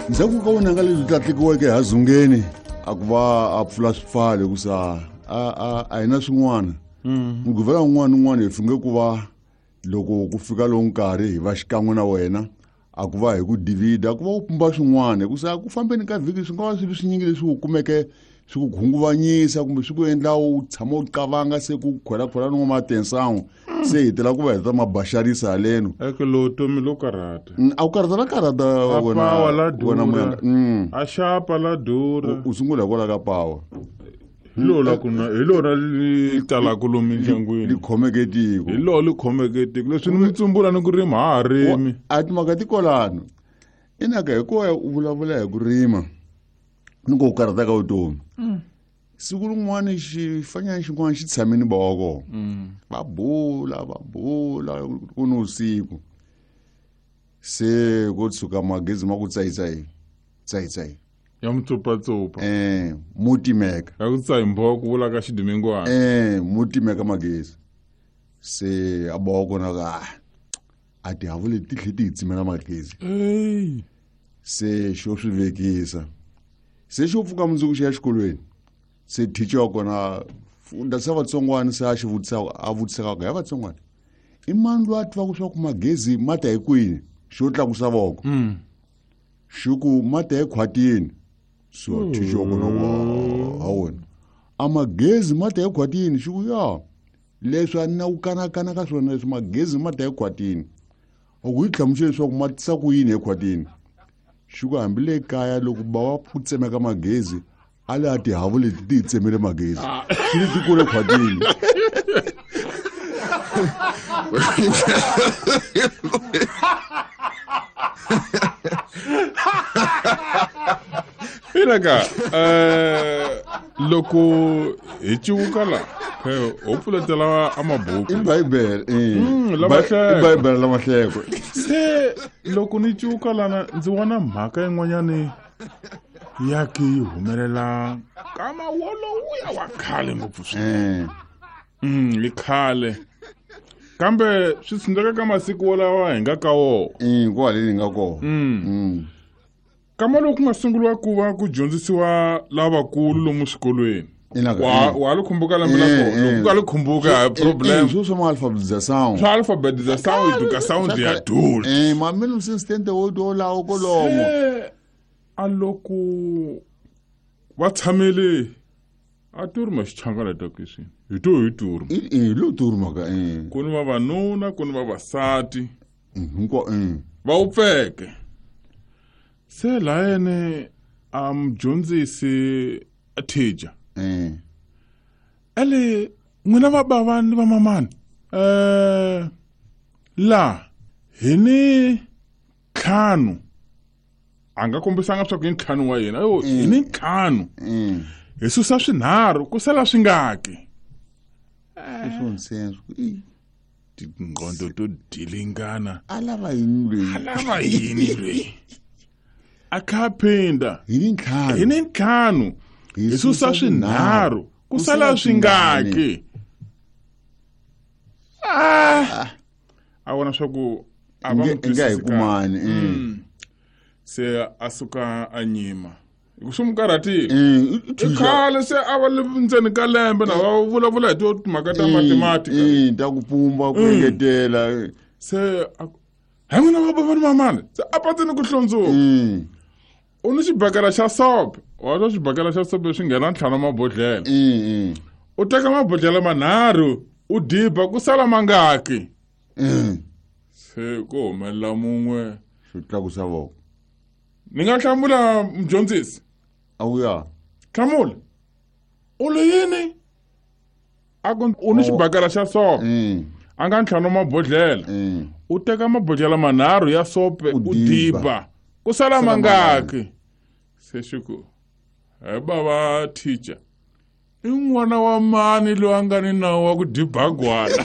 Ndzhaku ka vunanga lebyi tlatlikiweke hazungeni a ku va a pfula swipfalo hikusa a hi na swin'wana. Mugqivela wun'wana ni wun'wana hi funge ku va loko ku fika lowu nkarhi hi va xikan'we na wena, a ku va hi ku divida, a ku va u pumba swin'wana, hikusa ku fambeni ka vhiki swi nga va swilo swinyingi leswi u kumeke swi ku khunguvanyisa kumbe swi ku endla u tshama u qavanga se ku khwelakhwela ni n'wamatensan'we se hi tela ku va heta mabaxarisa haleno. Eke lo tomi lo karhata. A ku karhata la karhata A wena pawa la wena durha. muyanga. A xapa la durha. U sungula hikwalaho ka pawa. Hi lona ku na hi lona li talaka lomu mindyangwini. Li khomeke tiko. Hi lona li khomeke tiko. Leswi ni mi tsumbula ni ku rima ha ha rimi. A timhaka ti kolano. Inaka hikuva u vulavula hi ku rima ni ku karhata ka vutomi. Siku rin'wana xifanyana xin'wana xi tshame ni bava kona. Va bula, va bula ku ni vusiku. Se ko tshuka magezi ma ku tsayitsayi, tsayitsayi. Ya mutsopatsopa. Mo timeka. Ya ku tsayi mbho ku vula ka xidimingwana. Mo timeka magezi. Se a bawa kona ka a ti havule ti tlhe ti hi tsimela magezi. Ey. Se xo swi vekisa. Se xo pfuka mundzuku xi ya xikolweni. Se teacher wa kona funda sa vatsongwana se a xi vutisa, a vutisaka ku ya vatsongwana. I mani loyi a tivaka swa ku magezi ma ta hi kwini? Xo tlakusa voko. Xi ku ma ta ekhwatini. So teacher wa kona ku, ha wena. A magezi ma ta ekhwatini, xi ku ya. Leswi a ni na ku kanakana ka swona leswi magezi ma ta ekhwatini. A ku yi hlamusela leswaku ma tisa ku yini ekhwatini. Xi ku hambi le kaya loko ba wa ku tsemeka magezi, a le a tihavu leti ti hi tsemele magezi. Xi li ti kule khwatini. Inaka, loko hi civuka la, ho pfuletela a mabuku. I Bibele, eh. La mahleko. I Bibele la mahleko. Se loko ni civuka lana ndzi vona mhaka yin'wanyani ya ke yi humelela ka mawolowuya wa khale ngopfu swinene. I khale. Kambe swi tsundzuka ka masiku wolawa hi nga ka wona. Kwale ni nga kona. Kama loko ku nga sunguriwa ku va ku dyondzisiwa lavakulu lomu swikolweni. Inaka, Wa li khumbuka lembe la kona. Loko u nga li khumbuka, hayi problem. Swo swa ma-alphabetization. Swa alphabetization, education ya adult. Ma mina assistant wo to lawo kolomo. Se, a loko va tshamele a turma xichangana ta kweswi. Hi to hi turma. I lo turma ka, eh. Ku ni vavanuna, ku ni vavasati. Hinkwa, eh. Va wupfeke. Se layene a mudyondzisi a teacher. Ele n'wina va bava ni va mamani. La hi ni ntlhanu. A nga kombisanga swa ku i ntlhanu wa yena. Ayo, hi ni ntlhanu. Hi susa swinharhu ku sala swingaki. I swo nsenso. I. Tingqondo to dilingana. A lava yini loyi? A lava yini loyi? A kha phinda. Hi ni ntlhanu. Hi ni ntlhanu. Hi Hi susa susa swinharhu ku Ku sala sala swingaki. swingani. A vona swa ku a va Nge- n'wi nge hi twisisi kahle. kumani, Se a suka a nyima. Hi ku swi n'wi karhatile. I I thuxa. khale se a va le ndzeni ka lembe na va vulavula hi timhaka ta mathematika. Ta ku pumba, ku engetela. Se a ku, hi n'wina va bava ni mamani. Se a pateni ku hlundzuka. U ni xibakela xa sope. Wa twa xibakela xa sope swi nghena ntlhanu mabodhlele. U teka mabodhlele manharhu, u diba ku sala mangaki. Se ku humelela mun'we. Xo tlakusa voko. Ni nga hlamula mudyondzisi? A wu ya. Hlamula. U li yini? A ku u ni xibakela xa sope. A nga ntlhanu mabodhlele. U teka mabodhlele manharhu ya sope, U u diba. diba. Ku sala Sala mangaki? mangaki? Se xi ku, he bava teacher, i n'wana wa mani loyi a nga ni nawu wa ku diba gwala?